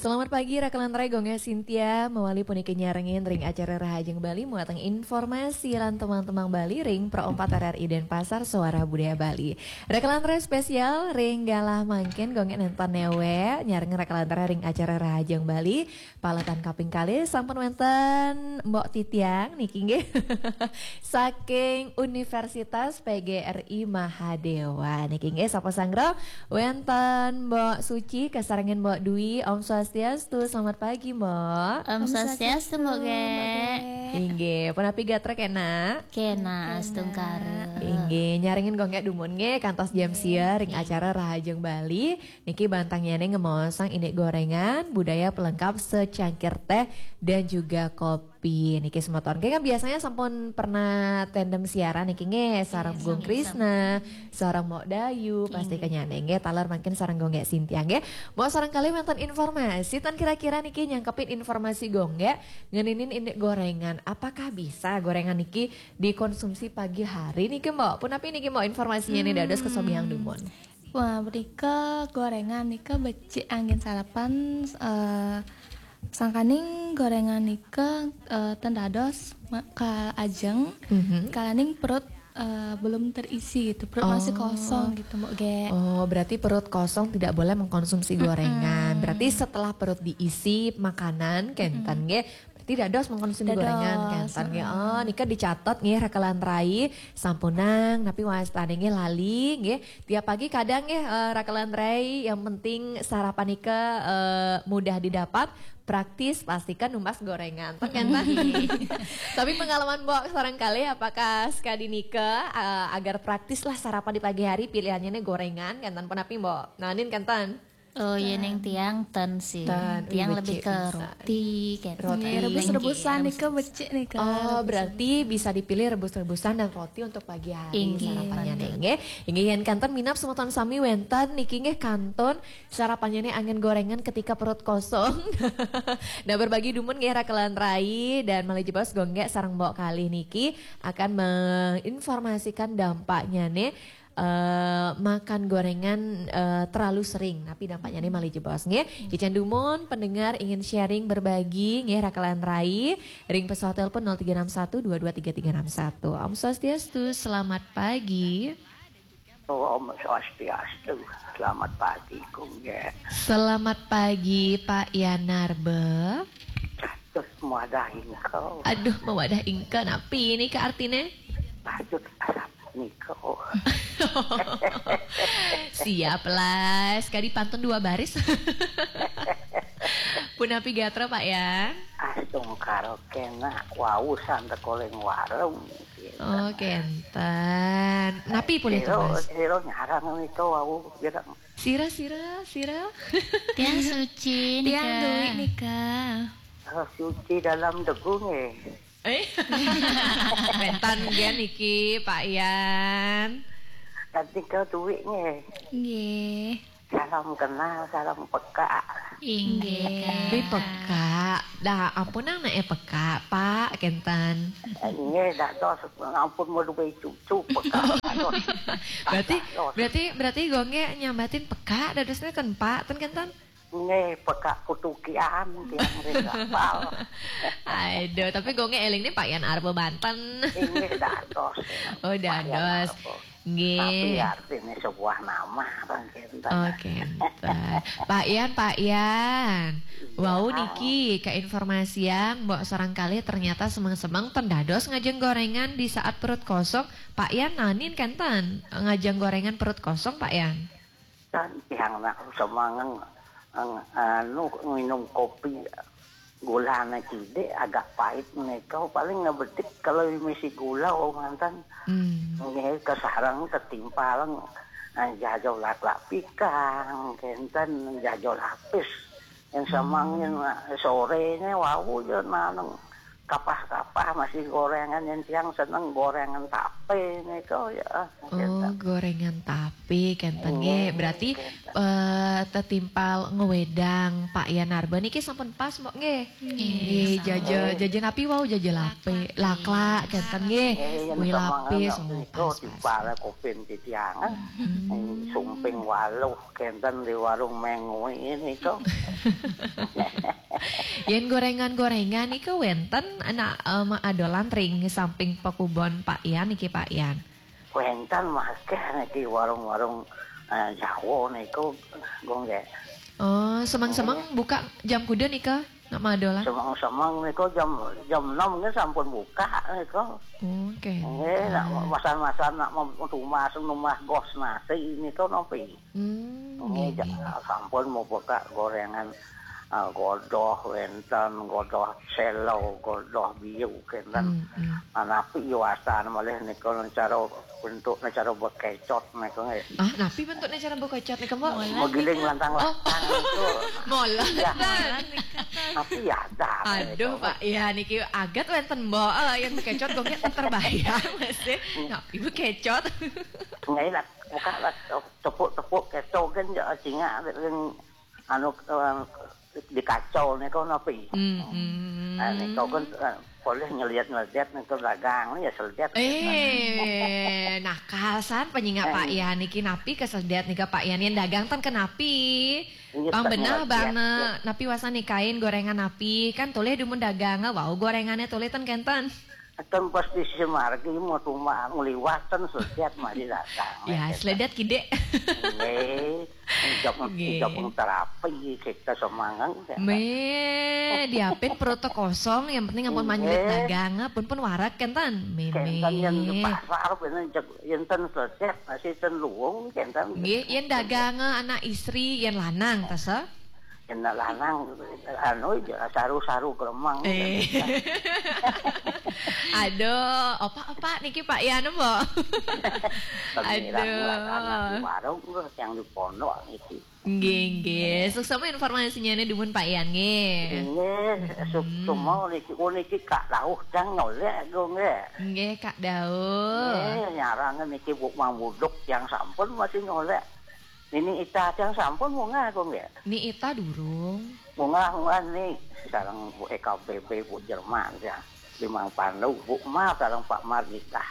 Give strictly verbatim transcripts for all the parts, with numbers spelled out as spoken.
Selamat pagi, Rakelan Rai, Gongnya Sintia, mawali puniki nyarengin ring acara Rahajeng Bali, muateng informasi lan tembang-tembang Bali ring Pro empat R R I Denpasar, Suara Budaya Bali. Rakelan Rai spesial ring galah mangkin, Gongnya nenten newe, nyarengin Rakelan Rai ring acara Rahajeng Bali, paletan kaping kalih sampun wenten Mbok Titiang niki nggih. Saking Universitas P G R I Mahadewa. Niki nggih sapa sanggra? Wenten Mbok Suci, kasarengin Mbok Dwi. Om Swastiastu, selamat pagi, Mbok. Om Swastiastu, Mbok Ge. Inggih, punapi gatra kena? Kena astungkara. Inggih, nyarengin Gongnya dumun nggih kantos jam sia ring acara Rahajeng Bali. Niki bantangnyané ngemaosang indik gorengan, budaya pelengkap secangkir teh dan juga kopi. Niki semeton. Nggih kan biasanya sampun pernah tandem siaran niki nggih sareng Gung Krisna, sareng Mbok Dayu, pasti kenyané nggih taler mangkin sareng Gongnya Sintia nggih. Mbok sareng kalih wenten informasi ten kira-kira niki nyangkepin informasi Gongnya ngeninin indik gorengan. Apakah bisa gorengan niki dikonsumsi pagi hari niki, Mbok? Punapi niki, Mbok, informasinyané dados kesobiang dumun? Wah, menika gorengan nika becik anggén sarapan, eh, sangkaning gorengan nika, eh, ten dados ma- ka ajeng, Mhm. kalaning perut, eh, belum terisi gitu, perut masih kosong gitu, Mbok Ge. Oh, berarti perut kosong tidak boleh mengkonsumsi gorengan. Berarti setelah perut diisi makanan, kenten nggih. Berarti dados mengkonsumsi Dados, gorengan, kenten nggih. Oh, nika dicatat nggih, Rakelan Rai, sampunang, tapi wastané nggih lali nggih. Tiap pagi kadang nggih, eh, Rakelan Rai, yang penting sarapan nika, eh, mudah didapat, praktis, pastikan numbas gorengan. Ten kenten? Tapi pengalaman Mbok sareng kalih, apakah sekadi nika, eh, agar praktis lah sarapan di pagi hari, pilihannya nih gorengan, kenten punapi, Mbok? Nanin kenten? Oh, yéning tiang ten sih. Ten, Tiang wih, lebih becik ke bisa. Roti kan. Roti. Nggih, rebus-rebusan nika becik nika. Oh, berarti bisa dipilih rebus-rebusan dan roti untuk pagi hari Inggih. Sarapannya nggih. Inggih, yén kanten minab semeton sami wenten niki nggih kantun sarapannya nih anggén gorengan ketika perut kosong. Nah, berbagi dumun nggih Rakelan Rai dan malih jebos Gongnya sareng Mbok kalih niki akan menginformasikan dampaknya nih, eh, makan gorengan, eh, terlalu sering. Tapi dampaknya nih malih jebos nggih. Kicen dumun pendengar ingin sharing, berbagi nggih Rakelan Rai, ring pesawat telepon nol tiga enam satu dua dua tiga tiga enam satu. Om Swastiastu, selamat pagi. Oh, Om Swastiastu. Selamat pagi, Gongnya. Selamat pagi, Pak Yanarbe. Terus muadah ingkau. Aduh, mawadah ingkau, napi nika artiné? Patut asap niko. Siap lah, sekali pantun dua baris. Punapi gatra, Pak Yan? Astungkara kena wau santekoling warung. Oh, kenten. Napi pulih Sira, tumbas? Sira nyarang niko wau bilang, Sira, sira, sira. Tiang suci Tiang nika. Dwi nika. "Oh, suci dalam debu nggih." Eh, bentan nggih niki, Pak Yan. Tadi kau duit nggih. Nggih. Salam kenal, salam peka. Inggih. Tapi peka. Dah, ampun nang nae peka, Pak, kenten. Nggih, dados ampun mau duwe cucu peka. Dados. Berarti Dados. berarti berarti Gongnya nyambatin peka dadosnya ten, Pak, ten kenten. Nggih, peka kutukian tiang ring kapal. Aduh, tapi Gongnya eling nih Pak Yan arep banten. Nggih, dados. Oh, dados. Apa? Nggih. Tapi artinya sebuah nama, kan, kenten. Oke, entar. Pak Yan, Pak Yan. Wau niki keinformasian, Mbok sareng kalih ternyata semeng-semeng ten dados ngajeng gorengan di saat perut kosong. Pak Yan, nanin kenten ngajeng gorengan perut kosong, Pak Yan? Kan tiang nak semangeng, anu, minum kopi gulane cidik agak pahit menika, paling ngebetik kalau misi gula manten. Hmm. Nggih, kesareng ketimpalang, eh, jajo laklak pikang, kenten jajo lapis. Yang semangin, eh, sorenya wau ya naneng kapah-kapah masih gorengan, yang tiang seneng gorengan tape nika ya. Oh, gorengan tape kenten Iya, nggih. Berarti kenten. eh, tetimpal ngewedang Pak Yan Narba niki sampun pas mbok nggih. Nggih, jaja jaja napi wau, jaja lape, lakla kenten nggih. Eh, yang Kue sama lapis anak oh, itu pas, di pas. para kupin titiangan. Sumping waluh kenten di warung Mengwi ini tuh. Yen gorengan-gorengan niku wenten anak eh, adolan ring samping pekubon Pak Yan niki Pak Yan. Wenten mah akeh niki warung-warung eh, Jawa niku, Gung nggih. Oh, semeng-semeng buka jam kuda nika nak madolan. Semeng-semeng niku jam jam enam nggih sampun buka niku. Oke. Nggih, nak masan-masan nak mem- tumas numah gos nasi niku nopi. Hmm, Nggih, nggih, nggih. ja- sampun mau buka gorengan eh, godoh wenten, godoh selo, godoh biu kenten. Hmm, hmm. Nah, napi iwasan malih niku cara bentuk cara bekecot niku nggih. Ah, napi bentuknya cara bekecot nih kembok? Menggiling lantang-lantang niku. Mola. Ya. Tapi ya ada. Aduh Pak, ya niki agat wenten mbok eh, yang bekecot kok nggih terbayang masih. Napi bekecot? Nggih lah, buka lah tepuk-tepuk keto kan ya cingak ring anu eh, di kacau niku napi. Hmm, hmm. Nah, niku kan eh, boleh nyeliat-nyeliat niku dagang ya seliat. Eh, nakal san penyingak Pak Yan niki napi kesedet nika Pak Yan yang dagang ten kenapi? Iya, Pang tak benah ngeliat, bana ya. Napi wasan nikain gorengan napi kan toleh dumun dagang wau gorengannya toleh ten kenten. Kan pas di Simargi mau cuma ngeliwatan seliat masih datang. Ya, seledet kidek. Nggih. Jok Nggih. Jok terapi kita semangat. Me, diapin perut kosong, yang penting ampun Nggih. manyelit dagang, pun pun warak kenten. Meme. Kenten yang di pasar bener jek enten seliat masih ten luwung kenten. Nggih, yen dagang anak istri, yen lanang ta se? Kena lanang anu ya saru-saru kelemang. Eh. Aduh, opak-opak niki Pak Yan mbok. Pengirang Aduh. Anak di warung terus yang di pondok itu. Nggih, nggih. Suksma informasinya nih dumun Pak Yan nggih. Ini semua niki oh niki Kak Dauh yang nyolek gue nggih. Nggih, Kak Dauh. Eh, nyarangan niki Bu Mang Buduk yang sampun masih nyolek. Ini ita yang sampun munggah gue nggih. Ni ita durung. Munggah munggah nih sekarang Bu E K B B Bu Jerman ya. Di Mang Pandu, Bu Ma sekarang Pak Mardika.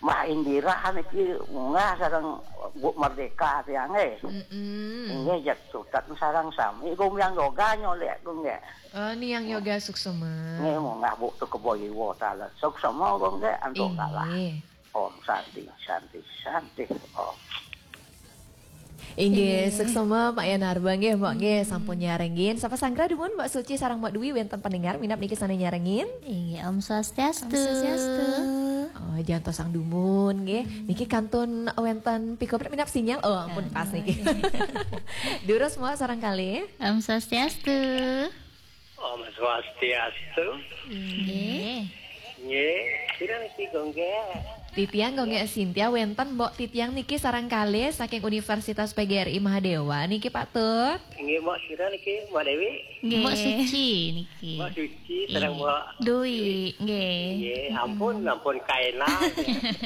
Mbah Indira niki munggah sareng Bu Merdeka tiang eh. Mm-mm. Inggih jek sutet sareng sami gumyang yoga nyolek gue nggih. Oh, ni yang yoga suksma. Nggih munggah Bu tu kebo iwo tala. Suksma gue nggih antuk kalah. Inggih. Om Santi, Santi, Santi. Om. Inggih, suksma Pak Yan Narba nggih, Mbok nggih, sampun nyarengin. Sapa sanggra dumun Mbok Suci sareng Mbok Dwi wenten pendengar minap niki sane nyarengin. Inggih, Om Swastiastu. Om Swastiastu. Oh, jangan tosang dumun nggih. Niki kantun wenten piko minap sinyal. Oh, ampun pas niki. Durus Mbok sareng kali. Om Swastiastu. Om Swastiastu. Nggih. Nggih, sira niki gue nggih. Titiang gue nggih Sintia wenten Mbok Titiang niki sareng kali saking Universitas P G R I Mahadewa niki Pak Tut. Nggih, Mbok sira niki, Mbok Dewi. Nggih. Mbok Suci niki. Mbok Suci sareng Mbok Dwi, nggih. Nggih, ampun, ampun kaena.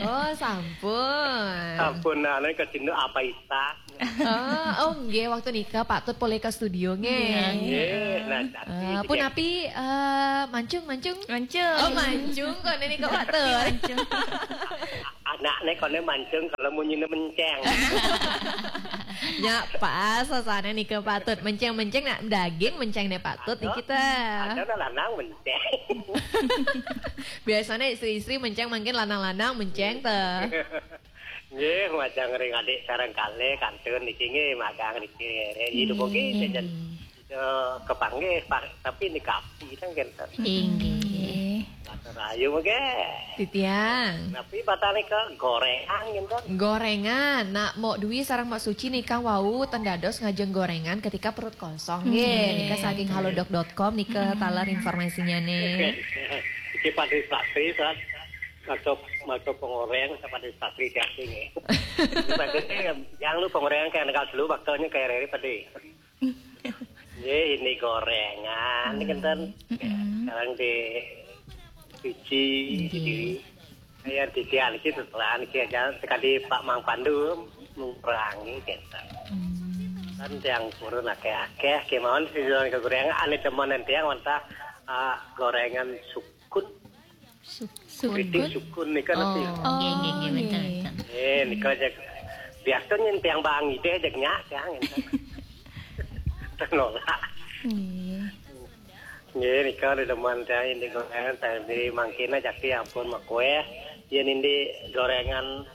Oh, sampun. Ampun anu kecinduk apa ita. Oh, oh nggih waktu nika Pak Tut polih ke studio nggih. Nggih, nah tapi Eh, pun api eh, mancung mancung. Mancung. Oh, mancung kok ini kok Pak Tut. Anaknya kone mancung kalau munyi menceng. Ya pas sasane nika Pak Tut menceng-menceng nak daging menceng nih Pak Tut nih kita. Ada lanang menceng. Biasanya istri-istri menceng mungkin lanang-lanang menceng teh. Nggih, majang ring adik sareng kali kantun niki nggih magang niki. Hidup oke jajan. Kepanggih, tapi ini kapi kan kenten. Inggih. Matur ayu mengke. Titiang. Tapi batane ke gorengan kenten. Gorengan, nak Mok Dwi sareng Mok Suci nika wau ten dados ngajeng gorengan ketika perut kosong. Nggih, nika saking halodoc dot com nika taler informasinya nih. Iki pada sasri saat maco maco pengoreng pada sasri jati nggih. Pada yang lu pengoreng kayak negara dulu waktunya kayak rere pada. Nggih, ini gorengan ini kenten. Sekarang di Suci. Nggih. Jadi, saya titian iki setelah iki aja sekali Pak Mang Pandu mengurangi kita. Hmm. Kan yang purun akeh-akeh kemauan sih, kekurangan ane teman yang wantah, ah, gorengan sukun. Sukun. Keripik sukun nika nasi. Oh, nggih, nggih, nggih, wenten, nggih. Wenten. Eh, nika aja. Biasanya yang bang ide aja nyak, yang itu. Tenolak. Nggih. Nggih, nika demen teh ini gorengan tadi mangkina jaki ampun mak kue. Yen ini gorengan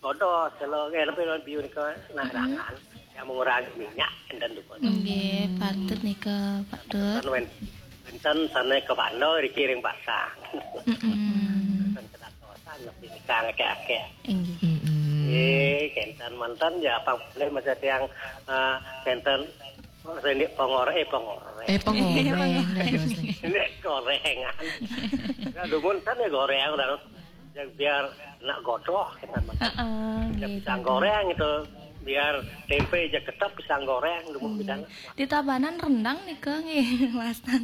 kodos kalau nggih lebih lebih nika nah, mm-mm, rangan. Yang mengurangi minyak dan dupa. Nggih, patut nika, Pak Tut. Kan wen-, wenten sana ke Bando dikiring pasang. Mm-mm. Wenten kedatosan lebih nika akeh-akeh. Nggih. Mm-mm. Nggih, kenten mantan ya apa boleh masa tiang, eh, kenten Oh, saya ini pengorek, eh, pengorek. Eh, pengoreng, dados. Ini gorengan. Ya, dumun kan ya goreng, dan ya, biar nak godoh, kita makan. Heeh, ya, nggih, pisang betul, goreng itu, biar tempe aja ketep pisang goreng, dumun, hmm, pisang. Di Tabanan rendang nika nggih, Mas Tan.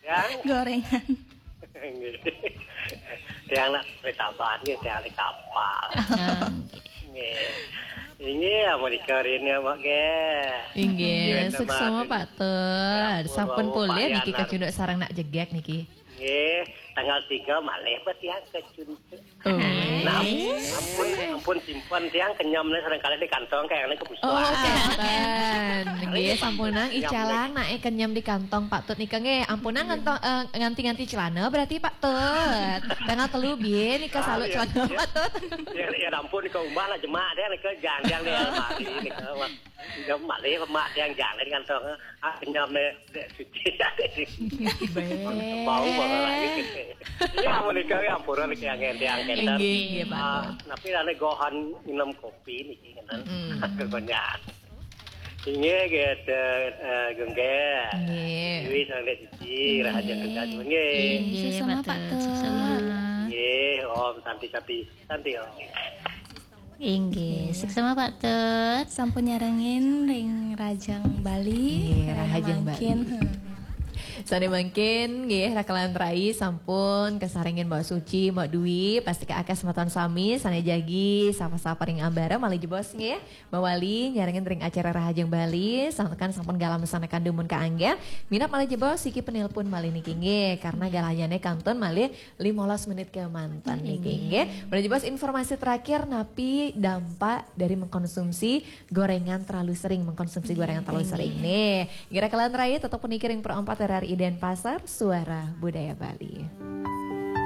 Ya. Gorengan. Nggih. Tiang nak kereta api nggih, tiang di kapal. Ah, nggih. Nggih, amun ika rene, Mbak, nggih. Inggih, nggih, suksma, Pak Tut. Sampun pulih niki kecunduk sareng nak jegek niki. Nggih, tanggal tiga malih, Mbak, tiang kecunduk. Oh. Nah, ampun, ampun, simpen tiang kenyam nih, sering kali di kantong kayak ini kebusuan. Oh, kenten. Nggih, sampun nang icalang nak, eh, kenyam di kantong Pak Tut nika nggih. Ampun nang nganti-nganti celana berarti Pak Tut. Tanggal telu biye nika salut celana Pak Tut. Ya, ya ampun, ke rumah lah jemak deh, nika janjang di lemari, nika, wah. Nika malih, mak yang jangan kantong, ah, kenyam nih, dek suci. Bau banget lagi gitu. Ya, menikah ya, ampura niki yang ngenteng, ngenteng. Inggih, inggih, Pak Tut. Ah, tapi ane gohan minum kopi niki, ngenten. Mm-mm. Kebanyakan. Inggih, gitu, eh, Gengge. Inggih. Dewi, Sang Dek Suci, Rahaja Tugas, inggih. Inggih, suksma, Pak Tut. Suksma. Inggih, Om, Santi, Santi, Santi, Om. Inggih, suksma, Pak Tut. Sampun nyarengin ring Rahajeng Bali. Inggih, Rahajeng Bali. Mangkin, hmm. Sane mangkin, nggih, rakalan rai sampun kasarengin Mbak Suci, Mbak Dwi, pasti ka akeh semeton sami, sane jagi, sapa-sapa ring ambara, malih jebos, nggih. Mbak Wali, nyarengin ring acara Rahajeng Bali, santukan sampun galam sane kandumun kaanggeh. Minab malih jebos, siki penelpon malih niki, nggih, karena galahnyane kantun malih limolas menit kemanten niki, nggih. Nggih. Malih jebos informasi terakhir napi dampak dari mengkonsumsi gorengan terlalu sering, mengkonsumsi gorengan terlalu sering. Nggih. Nih, kira kalian rai tetap puniki ring Pro empat R R I Denpasar, Suara Budaya Bali.